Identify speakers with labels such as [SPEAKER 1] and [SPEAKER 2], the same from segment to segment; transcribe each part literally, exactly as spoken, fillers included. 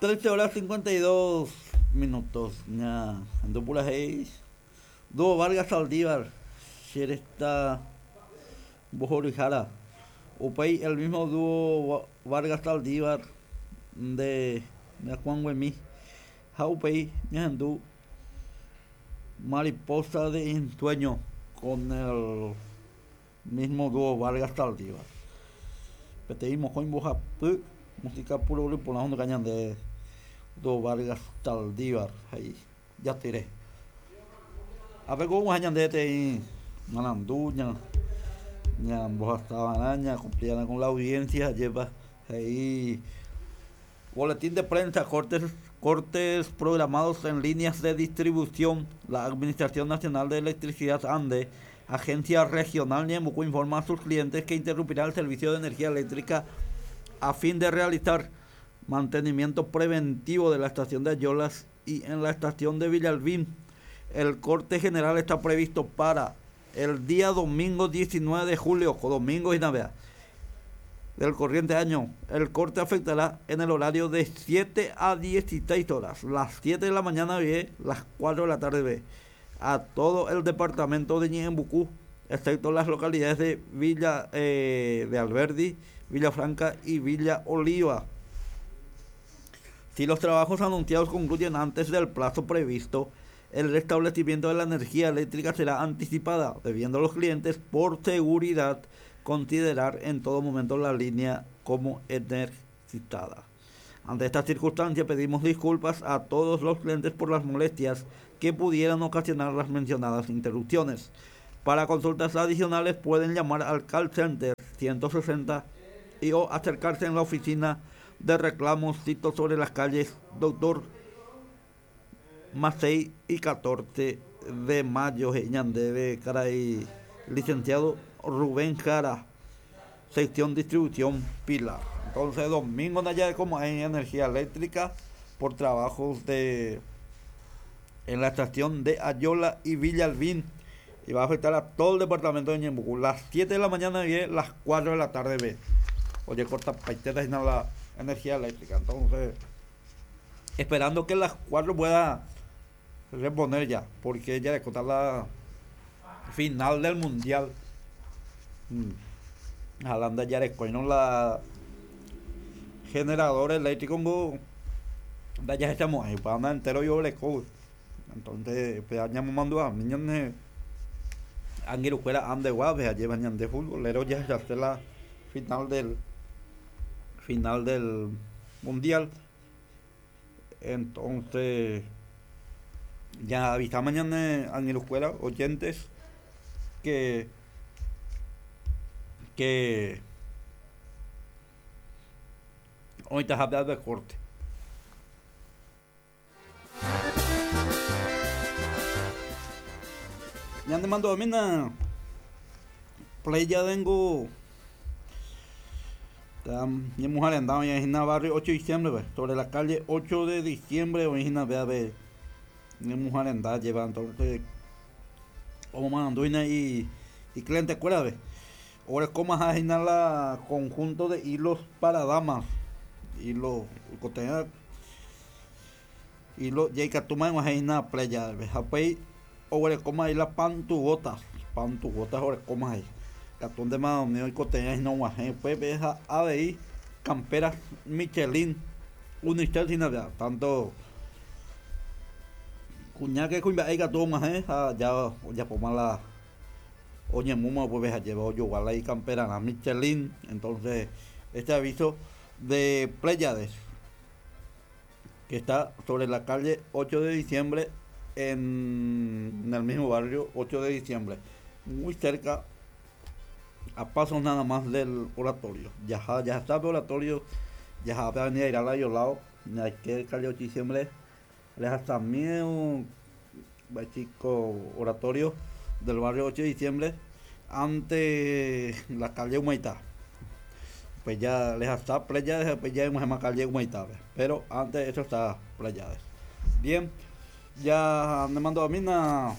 [SPEAKER 1] trece horas cincuenta y dos minutos. Ñahendu purahéi Dúo Vargas Saldívar, cheresta mbohoryhára. Upéi el mismo dúo Vargas Saldívar de Ñakuãnguemi. Ha upéi ñahendu Mariposa de Ensueño con el mismo dúo Vargas Saldívar. Peteĩ mokõi mbohapy música puro porã honduka ñande dúo Vargas Saldívar he'i jatyre. Ápe ko og̃uahẽ ñande peteĩ marandu ña ñambohasava'erã ñacumplirã con la audiencia ajépa he'i boletín de prensa cortes cortes programados en líneas de distribución. La Administración Nacional de Electricidad ANDE, Agencia Regional Ñeembucú, informa a sus clientes que interrumpirá el servicio de energía eléctrica a fin de realizar mantenimiento preventivo de la estación de Ayolas y en la estación de Villalbín. El corte general está previsto para el día domingo diecinueve de julio, domingo y Navidad del corriente año. El corte afectará en el horario de siete a dieciséis horas, las siete de la mañana B, las cuatro de la tarde B, a todo el departamento de Ñeembucú, excepto las localidades de Villa eh, de Alberdi, Villa Franca y Villa Oliva. Si los trabajos anunciados concluyen antes del plazo previsto, el restablecimiento de la energía eléctrica será anticipada, debiendo los clientes, por seguridad, considerar en todo momento la línea como energizada. Ante esta circunstancia, pedimos disculpas a todos los clientes por las molestias que pudieran ocasionar las mencionadas interrupciones. Para consultas adicionales pueden llamar al call center ciento sesenta y o acercarse en la oficina de reclamos sito sobre las calles Doctor Macei y catorce de mayo. Ñandeve, caray, licenciado Rubén Jara, sección distribución Pilar. Entonces, domingo allá como hay energía eléctrica por trabajos de en la estación de Ayola y Villalbín, y va a afectar a todo el departamento de Ñeembucú. Las siete de la mañana y las cuatro de la tarde ve. Oye, corta paiteta y no la energía eléctrica. Entonces, esperando que las cuatro pueda reponer ya, porque ya de contar la final del mundial. Mm. Jalanda ya de coño la generador eléctrico go, da ya estamos ahí para andar entero yo le co. Entonces, pues ya me mando a niños anguiru fuera ande guave, allí van de futbolero ya se hace la final del final del mundial. Entonces, ya avisa mañana anguiru fuera oyentes que que hoy te habla de corte. Ya te mando a mí una playa tengo. Mi mujer andaba en el barrio ocho de diciembre, pues, sobre la calle ocho de diciembre, hoy en la vea de mi mujer andaba llevando entonces como mandó y y cliente escuela ve. Ahora como a la conjunto de hilos para damas, hilos coteña, hilo ya toma en la playa, ve. Apey ahora como ahí la pantugotas, pantugotas ahora como ahí. Catón de más y coteña y no guaje, pues ves a A B I, camperas Michelin, Unicel sin nada, tanto cuña que cuña hay catón más, eh, ya ya poma la oye muma pues ves a llevar yo igual ahí campera la Michelin. Entonces este aviso de Pléyades que está sobre la calle ocho de diciembre en, en el mismo barrio ocho de diciembre, muy cerca, a pasos nada más del oratorio. Ya, ya está el oratorio, ya va a venir a ir a la lado, hay que calle ocho de diciembre, les hasta miedo, chico oratorio del barrio ocho de diciembre, ante la calle Humaitá. Pues ya les hasta Pléyades, pues ya en la calle Humaitá, pero antes eso está Pléyades. Bien, ya me mando a mí una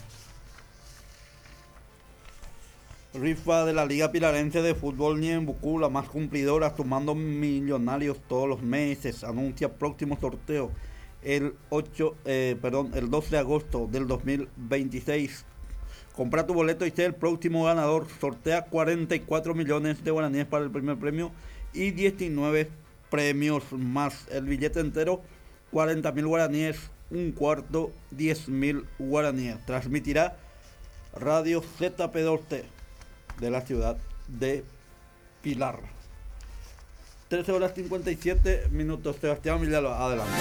[SPEAKER 1] Rifa de la Liga Pilarense de Fútbol Ñeembucú, la más cumplidora, sumando millonarios todos los meses. Anuncia próximo sorteo el ocho, eh, perdón, el dos de agosto del dos mil veintiséis. Compra tu boleto y sé el próximo ganador. Sortea cuarenta y cuatro millones de guaraníes para el primer premio y diecinueve premios más. El billete entero, cuarenta mil guaraníes, un cuarto, diez mil guaraníes. Transmitirá Radio Z P dos T de la ciudad de Pilar. trece horas cincuenta y siete minutos. Sebastián Villalba, adelante.